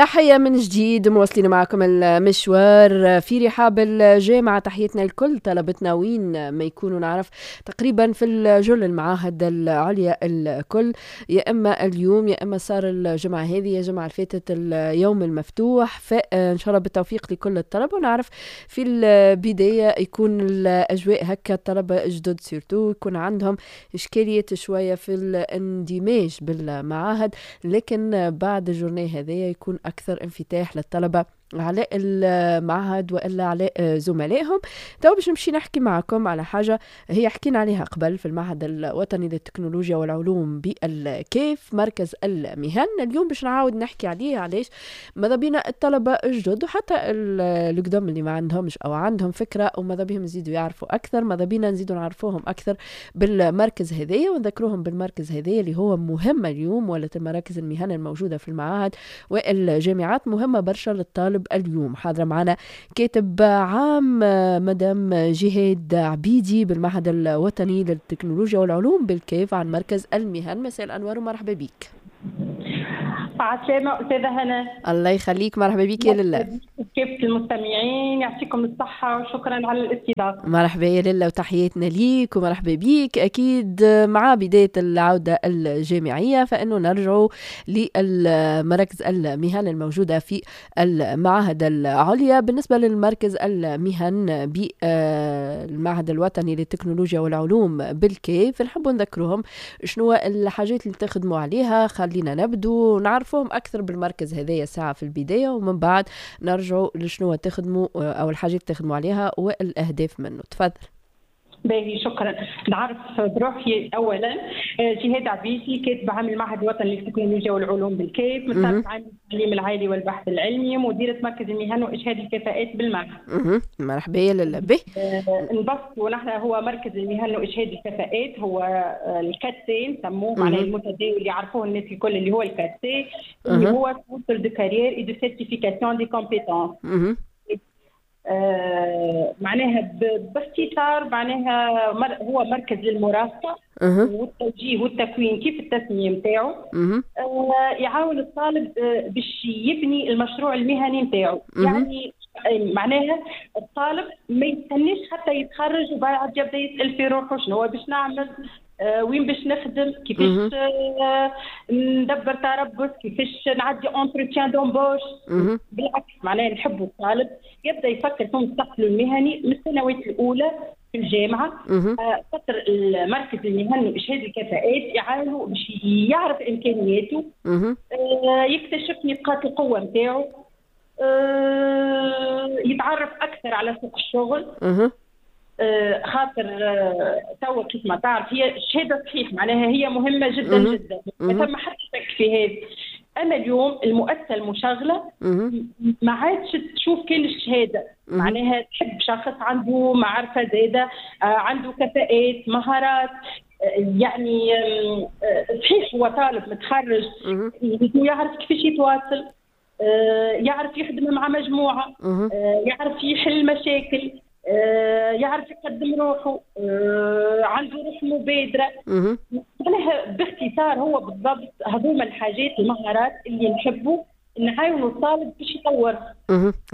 تحية من جديد، مواصلين معكم المشوار في رحاب الجامعة. تحيتنا لكل طلبتنا وين ما يكونوا، نعرف تقريبا في الجل المعاهد العليا الكل، يا إما اليوم يا إما صار الجمعة هذه يا الجمعة اللي فاتت اليوم المفتوح. فإن شاء الله بالتوفيق لكل الطلبة. ونعرف في البداية يكون الأجواء هكا، الطلبة جدد surtout يكون عندهم إشكالية شوية في الاندماج بالمعاهد، لكن بعد ال journée هذايا يكون أكثر انفتاح للطلبة على المعهد والا على زملائهم. تو باش نمشي نحكي معكم على حاجة هي حكينا عليها قبل في المعهد الوطني للتكنولوجيا والعلوم بالكاف، مركز المهن. اليوم باش نعاود نحكي عليه. علاش؟ ماذا بينا الطلبة الجدد وحتى القدم اللي ما عندهمش او عندهم فكرة وماذا بهم يزيدوا يعرفوا اكثر، ماذا بينا نزيدوا نعرفوهم اكثر بالمركز هذايا ونذكروهم بالمركز هذايا اللي هو مهم اليوم. ولا المراكز المهن الموجودة في المعاهد والجامعات مهمة برشا للطالب. اليوم حاضرة معنا كاتب عام مدام جهاد عبيدي بالمعهد الوطني للتكنولوجيا والعلوم بالكاف عن مركز المهن. مساء الأنوار ومرحبا بك. عسلامة أستاذة هنا. الله يخليك، مرحبا بك يا لله. كيف المستمعين؟ يعطيكم الصحة وشكرا على الاستضافة. مرحبا يا لله وتحياتنا ليك ومرحبا بيك. أكيد مع بداية العودة الجامعية فإنه نرجع للمراكز المهن الموجودة في المعاهد العليا. بالنسبة للمركز المهن بالمعهد الوطني للتكنولوجيا والعلوم بالكاف، نحب نذكرهم شنو الحاجات اللي تخدموا عليها. خلينا نبدو نعرفهم أكثر بالمركز هذايا ساعة في البداية، ومن بعد نرجعوا لشنو تخدموا أو الحاجات تخدموا عليها والأهداف منه. تفضل. باهي، شكرا. نعرف بروحي اولا، جهاد عبيدي، كاتب عام المعهد الوطني للتكنولوجيا والعلوم بالكاف، مساعد عام التعليم العالي والبحث العلمي، مديرة مركز المهن واشهاد الكفاءات بالمعهد. مرحبا يا لله به. نبسط، ونحن هو مركز المهن واشهاد الكفاءات هو ال 4C نسموه، معناه المتداول اللي يعرفوه الناس الكل اللي هو ال 4C، اللي هو centre de carrières et de certification des compétences. معناها باختصار معناها هو مركز للمرافقه والتوجيه والتكوين كيف التسمية نتاعو، يعاون الطالب باش يبني المشروع المهني نتاعو. يعني معناها الطالب ما يستناش حتى يتخرج وبعد يبدا يسال في روحه شنو هو باش نعمل، وين باش نخدم، كيفاش ندبر تربص، كيفاش نعدي entretien d'embauche. بالعكس، معناها نحبوا الطالب يبدا يفكر في مستقبله المهني من السنوات الاولى في الجامعه. خاطر المركز المهني واشهاد الكفاءات يعاونوا باش يعرف امكانياته، يكتشف نقاط القوة نتاعو، يتعرف اكثر على سوق الشغل. خاطر توا كيف ما تعرف هي الشهادة صحيح معناها هي مهمة جدا جدا، ما ثم حتى شك في هذا. اما اليوم المؤسسة المشغلة ما عادش تشوف كان الشهاده، معناها تحب شخص عنده معرفة زاده، عنده كفاءات، مهارات. يعني صحيح هو طالب متخرج يعرف كيفاش يتواصل، يعرف يخدم مع مجموعه، يعرف يحل مشاكل، يعرف يقدم روحه، عنده روح مبادره. معناها باختصار هو بالضبط هذوما الحاجات، المهارات اللي نحبوا نعاونوا الطالب باش يطور.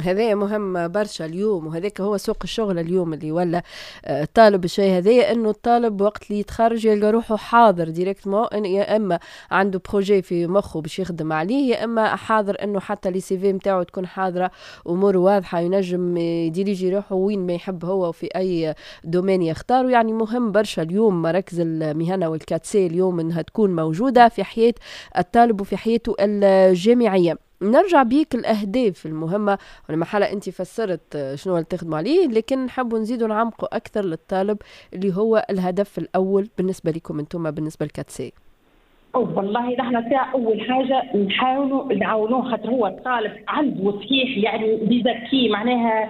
هذا مهم برشا اليوم، وهذاك هو سوق الشغل اليوم اللي ولا الطالب الشيء هذايا، انه الطالب وقت اللي يتخرج يلقى روحه حاضر directement، يا اما عنده projet في مخه باش يخدم عليه، يا اما حاضر انه حتى les CV نتاعو تكون حاضره، امور واضحه، ينجم يديريجي روحه وين ما يحب هو وفي اي domaine يختار. يعني مهم برشا اليوم مراكز المهنة وال 4C اليوم انها تكون موجودة في حياة الطالب وفي حياته الجامعيه. نرجع بيك الأهداف المهمة، ولما حالة أنت فسرت شنو اللي تخدموا عليه، لكن نحبوا نزيدوا نعمقوا أكثر للطالب اللي هو الهدف الأول بالنسبة لكم أنتم بالنسبة لل 4C. والله نحن ساعة أول حاجة نحاولوا نعاونوه، خاطر هو الطالب عنده صحيح يعني des acquis، معناها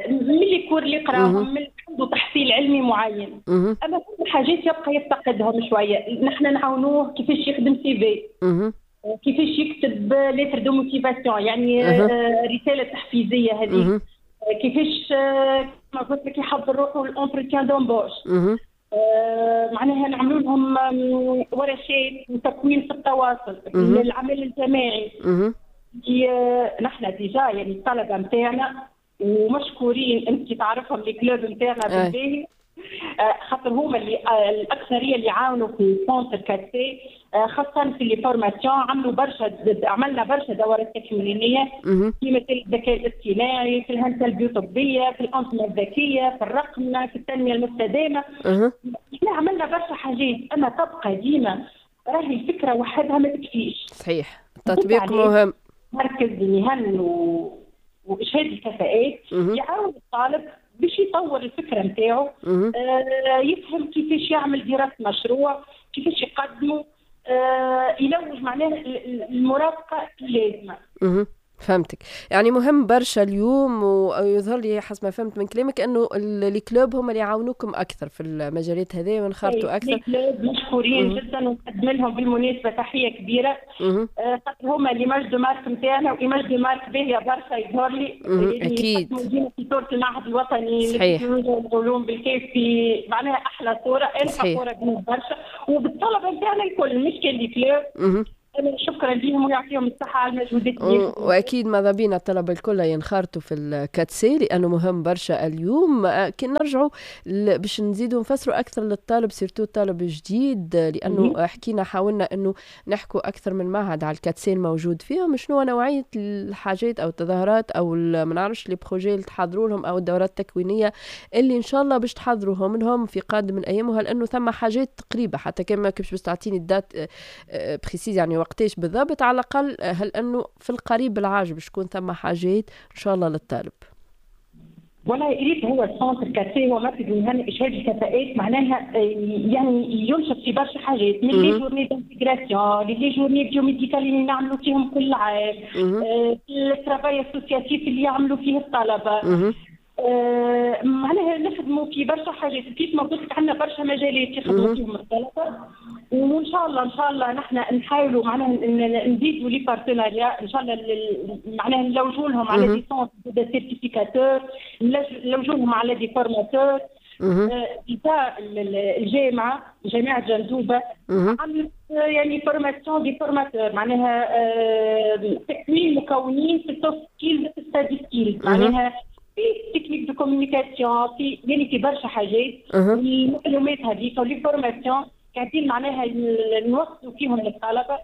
من les cours اللي قراهم، من عنده تحصيل علمي معين، أما كل حاجات يبقى يفتقدهم شوية. نحن نعاونوه كيفاش يخدم CV، كيفاش يكتب lettre de motivation، يعني رسالة تحفيزيه هذه، كيفاش كما قلت لك يحضر روحه ال entretien d'embauche. معناها نعملوا لهم ورشات وتكوين في التواصل، العمل الجماعي. نحن déjà يعني الطلبة نتاعنا ومشكورين، انت تعرفهم les clubs نتاعنا بالباهي، خاطر هما اللي الاكثرية اللي عاونوا في centre 4C، خاصة في les formations. عملوا برشا، عملنا برشا دورات تكوينيه في مثل الذكاء الاصطناعي، في الهندسة البيوطبيه، في الانظمة الذكيه، في الرقمنه، في التنمية المستدامه. احنا عملنا برشا حاجات، اما تبقى ديما راهي الفكرة وحدها ما تكفيش. صحيح، التطبيق مهم. مركز المهن واشهاد الكفاءات يعاون الطالب باش يطور الفكرة نتاعو، يفهم كيفاش يعمل دراسة مشروع، كيفاش يقدمه، يلوج معناه المرافقة اللازمه. فهمتك، يعني مهم برشا اليوم، ويظهر لي حسب ما فهمت من كلامك انه les clubs هم اللي يعاونوكم اكثر في المجالات هذه وانخرطوا اكثر. les clubs مشكورين جدا، ونقدم لهم بالمناسبة تحية كبيره، خاطر هما l'image de marque نتاعنا، و image de marque باهيه برشا يظهر لي. اكيد. في صوره المعهد الوطني للعلوم بالكاف في معناها احلى صوره، انا فخورة بهم برشا وبالطلبه نتاعنا الكل، مش كان les clubs. شكرا لهم ويعطيهم الصحة على المجهودات. واكيد ماذا بينا الطلبة الكل ينخرطوا في ال 4C لانه مهم برشا اليوم. كي نرجعوا باش نزيدوا نفسروا اكثر للطالب، surtout الطالب الجديد، لانه حكينا حاولنا انه نحكوا اكثر من معهد على ال 4C الموجود فيهم، شنو نوعية الحاجات او التظاهرات او ما نعرفش les projets اللي تحضروا لهم او الدورات التكوينيه اللي ان شاء الله باش تحضروهم لهم في قادم الايام، وهل انه ثم حاجات قريبه، حتى كان ما كنتش باش تعطيني ال date précise يعني وقتاش بالضبط، على الاقل هل انه في القريب العاجل باش تكون ثم حاجات ان شاء الله للطالب؟ والله ريت، هو ال centre 4C هو مركز المهن اشهاد الكفاءات، معناها يعني ينشط في برشا حاجات، من les journées d'intégration، les journées biomédicales اللي نعملوا فيهم كل عام، ال travail associatif اللي يعملوا فيه الطلبه، معناها نخدموا في برشا حاجات. كيف ما قلت لك عندنا برشا مجالات يخدموا فيهم الطلبه، وان شاء الله ان شاء الله نحن نحاولوا معناها نزيدوا les partenariats ان شاء الله، معناها نلوجوا لهم على des centres de certificateurs، نلوجوا لهم على des formateurs. الجامعه، جامعه جندوبه، عملت يعني formation des formateurs، معناها تكوين مكونين في ال soft skills، في ال study skills، معناها في techniques de communication، في يعني في برشا حاجات. المعلومات هذيك و les formations قاعدين معناها نوصلوا فيهم للطلبه.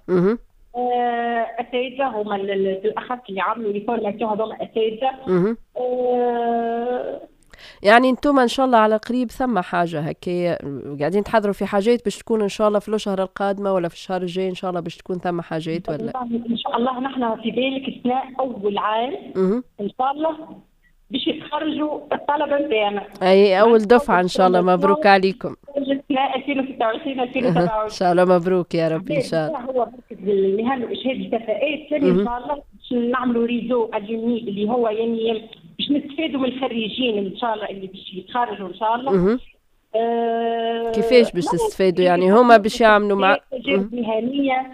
اساتذة هما بالاخص اللي عملوا les formations هذوما اساتذه. يعني انتم ان شاء الله على قريب ثم حاجة هكا، قاعدين تحضروا في حاجات باش تكون ان شاء الله في الشهر القادمة ولا في الشهر الجاي ان شاء الله باش تكون ثم حاجات ولا؟ ان شاء الله نحن في بالك السنة اول عام ان شاء الله باش يتخرجوا الطلبة نتاعنا. اي، اول دفعه ان شاء الله، مبروك عليكم. 2026 2027. ان شاء الله مبروك يا رب ان شاء الله. هو مركز المهن واشهاد الكفاءات ثاني ان شاء الله باش نعملوا réseau alumni، اللي هو يعني باش نستفادوا من الخريجين ان شاء الله اللي باش يتخرجوا ان شاء الله. كيفاش باش تستفادوا؟ يعني هما باش يعملوا مع مهنيه،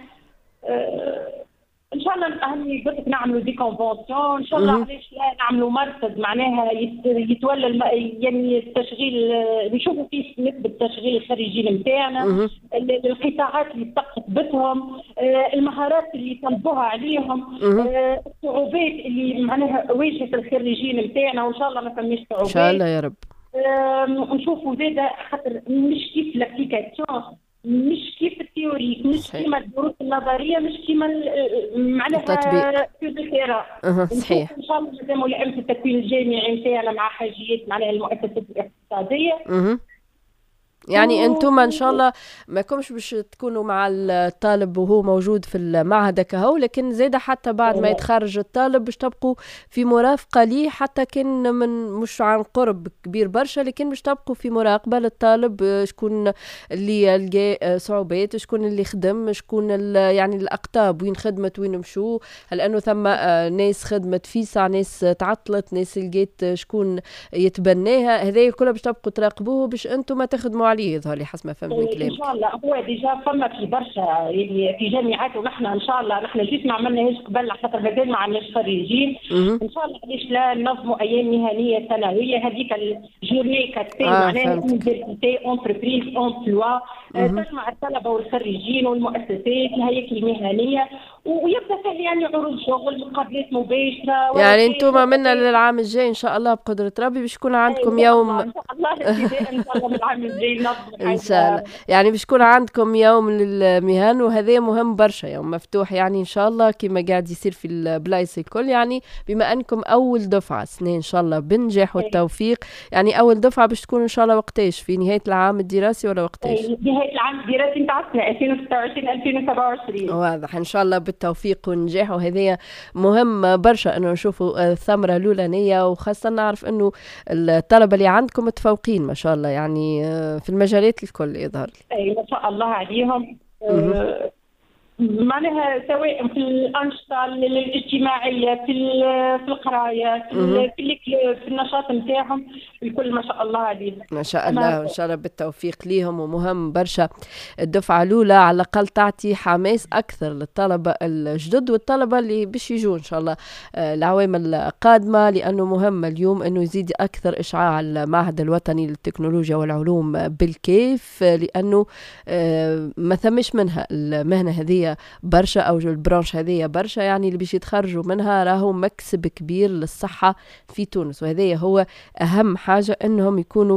ان شاء الله اهم قلت لك نعملوا des conventions ان شاء الله. علاش لا نعملوا مركز معناها يتولى يعني التشغيل، نشوفوا فيه نسبه تشغيل الخريجين نتاعنا، القطاعات اللي استقطبتهم، المهارات اللي طلبوها عليهم، الصعوبات اللي معناها واجهت الخريجين نتاعنا، وان شاء الله ما فماش صعوبات. ان شاء الله يا رب. نشوفوا زاده خاطر مش كيف l'application، مش كيف ال théorique، مش كيما الدروس النظريه، مش كيما معناها التطبيق. صحيح. ان شاء الله مادام ملائمه التكوين الجامعي نتاعنا مع حاجيات معناها المؤسسات الاقتصاديه. يعني انتم ان شاء الله ما كمش باش تكونوا مع الطالب وهو موجود في المعهد كهو، لكن زاد حتى بعد ما يتخرج الطالب باش تبقوا في مرافقة ليه، حتى كان من مش عن قرب كبير برشا، لكن باش تبقوا في مراقبة للطالب، شكون اللي لقى صعوبات، شكون اللي خدم، شكون يعني الاقطاب وين خدمت، وين مشوا، هل انه ثم ناس خدمت فيسع، ناس تعطلت، ناس لقيت شكون يتبناها. هذا كله باش تبقوا تراقبوه باش انتم تخدموا عليه، يظهر لي حسب ما فهمت من كلامك. ان شاء الله هو déjà فما في برشا يعني في جامعات، ونحن ان شاء الله نحن juste ما عملناهاش قبل خاطر مازال ما عندناش خريجين. ان شاء الله علاش لا ننظموا ايام مهنية سنويه، هذيك ال journée 4C، معناها université entreprise emploi. تجمع الطلبة والخريجين والمؤسسات الهياكل المهنية، ويبدا فيه يعني عروض شغل، مقابلات مباشرة. يعني انتم منا للعام الجاي ان شاء الله بقدره ربي باش يكون عندكم يوم ان شاء الله، ان شاء الله من العام الجاي. ان شاء الله، يعني باش يكون عندكم يوم للمهن، وهذا مهم برشا، يوم مفتوح يعني ان شاء الله كما قاعد يصير في البلايص الكل. يعني بما انكم اول دفعه سنة ان شاء الله بالنجاح والتوفيق، يعني اول دفعه باش تكون ان شاء الله وقتاش؟ في نهاية العام الدراسي ولا وقتاش؟ نهاية العام الدراسي نتاع السنة 2026 2027. واضح، ان شاء الله بالتوفيق والنجاح، وهذا مهم برشا انه نشوفوا الثمرة الاولانيه، وخاصة نعرف انه الطلبة اللي عندكم متفوقين ما شاء الله، يعني في المجالات الكل يظهر لي. اي ما شاء الله عليهم، معناها سواء في الانشطة الاجتماعيه، في القرايه، في النشاط نتاعهم الكل، ما شاء الله عليهم. ما شاء الله، وان شاء الله بالتوفيق ليهم. ومهم برشا الدفعة الاولى على الاقل تعطي حماس اكثر للطلبة الجدد والطلبة اللي باش يجوا ان شاء الله العوام القادمه، لانه مهم اليوم انه يزيد اكثر اشعاع المعهد الوطني للتكنولوجيا والعلوم بالكاف، لانه ما ثمش منها المهنة هذه برشا او ال branche هذه برشا، يعني اللي باش يتخرجوا منها راهو مكسب كبير للصحة في تونس، وهذا هو اهم حاجة انهم يكونوا